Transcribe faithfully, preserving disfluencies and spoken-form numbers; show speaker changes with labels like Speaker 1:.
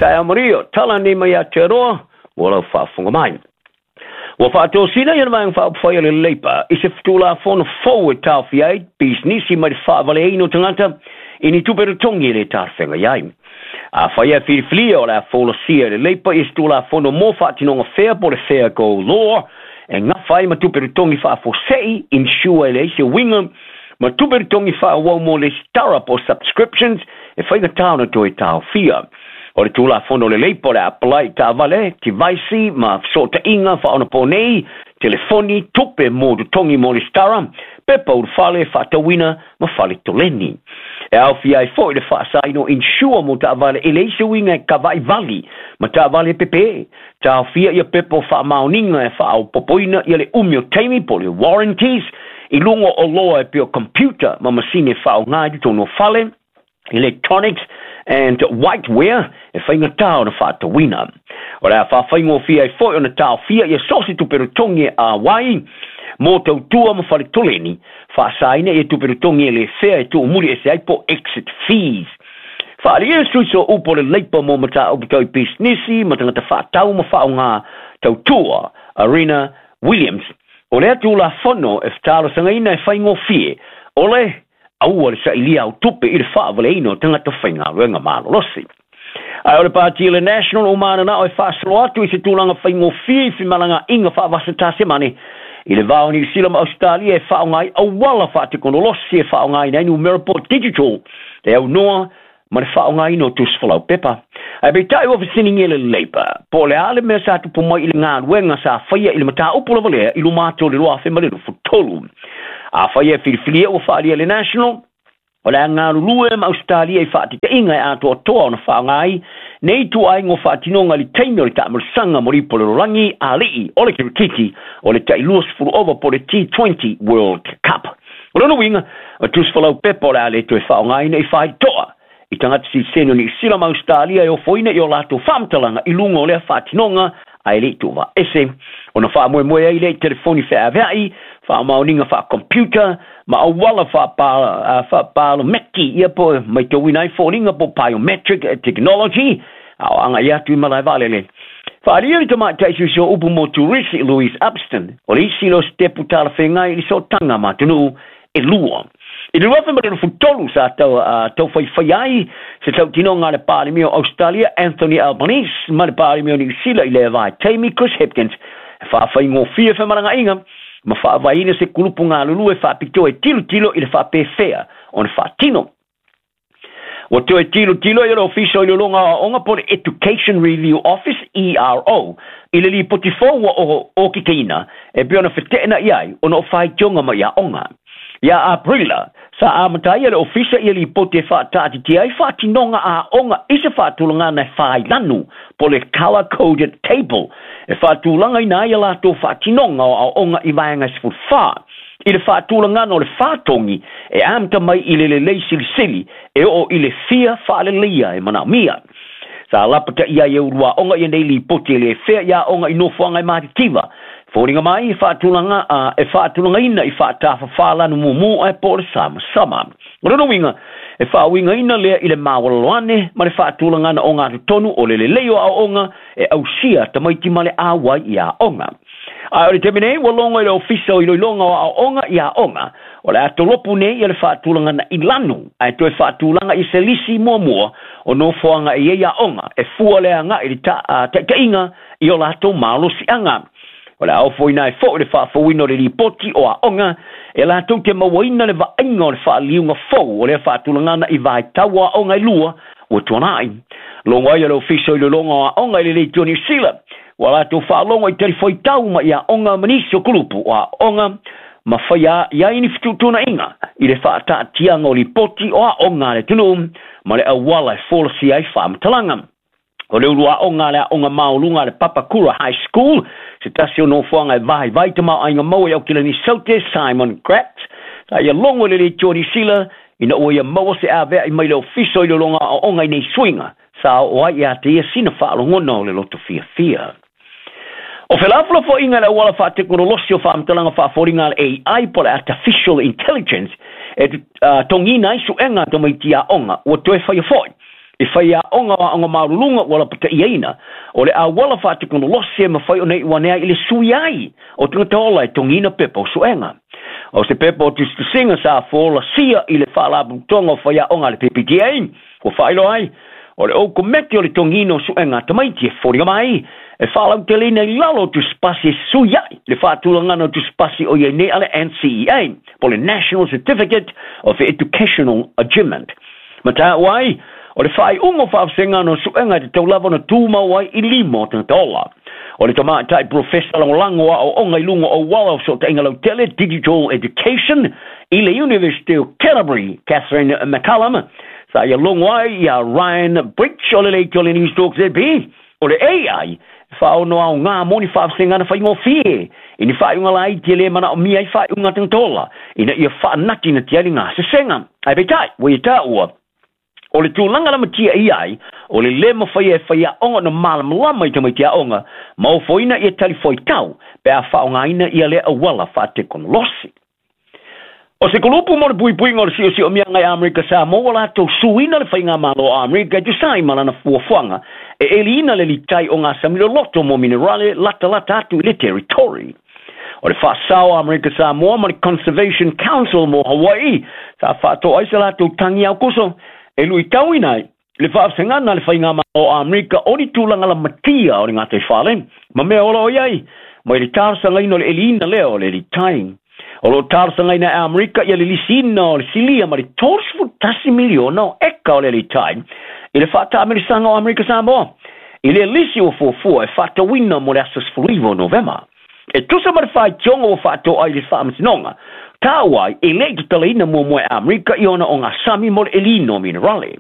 Speaker 1: Taeao manuia, tala nei mai Aotearoa, ua lau faafofoga mai. Ua faatosina ia le Vaega Faaupufai a le Labour i se Tulafono fou e taofia ai pisinisi mai le faavaleaina o tagata i ni tupe totogi e le talafeagai ai. Afai e filifilia o le a folasia e le Labour i se Tulafono mo faatinoga fea po o le Fair Go Law e gafa ai ma tupe totogi faafuasei, insure e leai se uiga, ma tupe totogi faaauau mo lesitara po o subscriptions e faigata ona toe taofia. O le Tulafono le Labour o le a apply i taavale, tivaisi ma fesootaiga faaonaponei, telefoni, tupe mo totogi mo lesitara, pepa ulufale, faatauina ma fale toleni. E aofia ai foi le faasaina o insure mo taavale e leai se uiga e kavaivali ma taavale e pepe. Taofia ia pepa o faamaoniga e faaopopoina ia le umi o taimi po o le warranties i luga o oloa e pei o computer ma masini e faaaoga i totonu o fale, electronics and whiteware e faigata ona faatauina. O le a faafaigofie ai foi ona taofia ia so o se tupe totogi e auai mo tautua ma fale toleni, faasaina ia tupe totogi e le fea e tuumuli ese ai po exit fees. Faaalia le sui o upu o le Labour mo mataupu tau i pisinisi ma tagata faatau ma faaaoga tautua, Arena Williams. O lea Tulafono e fetalosagaina e faigofie o le aua le sailia au tupe i le faavaleaina o tagata faigaluega malolosi. Ae o le Pati le National o mananao e faasolo atu i se tulaga faigofie i femalagaaiga faavasa-Tasemane i le va o Niu Sila ma Ausetalia e faaaoga ai auala faatekonolosi e faaaogaina ai numera po digital e aunoa ma le faaaogaina o tusi folau pepa. Ae peitai ua fesiligia le Labour po o le a le mea sa tupu mai i le galuega sa faia i le mataupu lava lea i luma atu o le lua afe ma le luasefulu tolu. Afai e filifilia ua faaalia le National, o le a galulue ma Ausetalia i faatitaiga e atoatoa ona faaaoga ai nei ituaiga o faatinoga i le taimi o le taamalosaga mo le ipu o le lalolagi a alii o le kirikiti o le tailua sefulu ova po o le T twenty World Cup. O lona uiga, o tusi folau pepa o le a le toe faaaogaina i faitoa i tagata sitiseni o Niu Sila ma Ausetalia e ofoina i o latou faamatalaga i luga o lea faatinoga ae le i tuuvaese ona faamoemoe ai lea i telefoni feaveai, faamaoniga faacomputer ma auala faapalomeki ia po matauina ai foliga po biometric technology a o agai atu i malae vaalele. Faaalia le tamaitai sui o upu mo Turisi Louise Upston, o le isi lea o sitepu talafeagai i le sootaga ma atunuu e lua. I le lua afe ma le tolu sa tau, uh, tau faifai ai se tautinoga a le Palemia o Australia Anthony Albanese ma le Palemia o Niu Sila i le vaitaimi Chris Hipkins e faafaigofie femalagaaiga ma faavaeina se kulupu galulue faapitoa e tilotilo i le faapefea ona faatino. Ua toe tilotilo i le Ofisa o Iloiloga o Aoga po le Education Review Office E R O i le lipoti fou ua okikaina e pei ona feteenai ai ona o faitioga mai aoga. Ia Aperila, sa amata ai le ofisa ia lipoti e faataatitia ai faatinoga aoga i se faatulagana e failanu po le color coded table e faatulagaina ai a latou faatinoga o aoga i vaega e sefulufa i le faatulagana o le fātogi e amata mai i le lelei silisili e oo i le fia faaleleia e manaomia. Sa lapataia ai e ulu aoga ia nei lipoti e le fea i aoga i nofoaga e matitiva. Foliga mai e faatulaga uh, e faatulagaina i faatafafā lanu mumu ae po o le samasama. O lona uiga, e faauigaina lea i le maualalo ane ma le faatulagana o gatotonu o le lelei o aoaoga e ausia tamaiti ma le auai i aoga. Ae o le taimi nei ua logo i le Ofisa o Iloiloga o Aoaoga i aoga o le a tolopu nei ia le faatulagana i lanu ae toe faatulaga i se lisi muamua o nofoaga e i ai aoga e fua le agai i le taitaiga i o latou malosiaga. O le a ofoina ai foi le faafouina o le lipoti o aoga e latou te mauaina le vaaiga o le faaliliuga fou o lea faatulagana i vaitau o aoga e lua ua tuanai. Logo ai le Ofisa o Iloiloga o Aoga i le Leitio Niu Sila ua latou faalogo i talifuaitau mai aoga ma nisi o kulupu o aoga ma faia i ai ni fetuutuunaiga i le faataatiaga o lipoti o aoga a le atunuu ma le auala e folasia ai faamatalaga. O le ulu aoga a le aoga maualuga a le Papakura High School, se tasi o nofoaga e vaivai tamaoaiga maua i Aukilani Saute, Simon Gratz, sa ia logo i le Leitio Niu Sila ina ua ia maua se aveai mai le Ofisa o Iloiloga Aoaoga i nei suiga sa oo ai ia te ia sina faalogona o le loto fiafia. O felafolafoaiga le auala faatekonolosi o faamatalaga faafoliga a le A I po le Artificial Intelligence e uh, togina ai suega tamaiti aoga ua toe faia foi. I faiaʻoga o aʻoga maluluga ua lapataʻiaina o le auala faatekonolosi e mafai ona iʻu ane ai i le sui ai o tagata ola e togiina pepa o suʻega. O se pepa o tusitusiga sa folasia i le faalapotopotoga o faiaʻoga a le P P T A ua faailoa ai o le ou kometi o le togiina o suʻega a tamaiti e foliga mai e faalauteleina i lalo o tusipasi e sui ai le faatulagana o tusipasi o iai nei a le N C E A po le National Certificate of Educational Achievement. Ma taua ai o le faaiuga o faavasega o suʻega e tatau lava ona tumau ai i lima o tagata ola. O le tamaʻitai profesa lagolago aʻoaʻoga i luga o auala o fesoʻotaʻiga lautele, Digital Education, i le University of Canterbury, Catherine McCallum, sa ia logo ai ia Ryan Bridge o le leitio o le News Talk Z B o le A I faaono aogā mo ni faavasegana faigofie i ni faaiuga laiti e lē manaʻomia ai faaiuga tagata ola ina ia faanatinati ai le gasesega. Ae peitai ua ia taua o le tulaga lamatia ia ai o le lē mafaia e faiaʻoga ona malamalama i tamaiti aʻoga ma ofoina ia talifuaitau pe a faaaogāina ia lea auala faatekonolosi. O se kulupu mo le puipuiga o le siosiomia i Amerika Samoa ua latou suina le faigamālō a Amerika e tusa ai ma lana fuafuaga e ʻeliina le litai o gasami loloto mo minerale latalata atu i le territory. O le faasao a Amerika Samoa ma le Conservation Council mo Hawaii sa faatoa ai se latou tagi aukuso e luitauina ai le faavasegana le faigamālō a Amerika o ni tulaga lamatia o le gataifale ma mea ola o iai mai le talosagaina o le ʻeliina lea o le litai. O loo talosagaina e Amerika ia le lisiina o le silia ma le tolusefulu tasi miliona o eka o le litai i le faataamilisaga o Amerika Samoa i le lisi ua fuafua e faatauina mo le aso sefuluiva o Novema. E tusa ma le faitioga ua faatoa ai le faamasinoga, taua ai e leʻi tatalaina muamua e Amerika i ona o gasami mo le ʻeliina o minerale.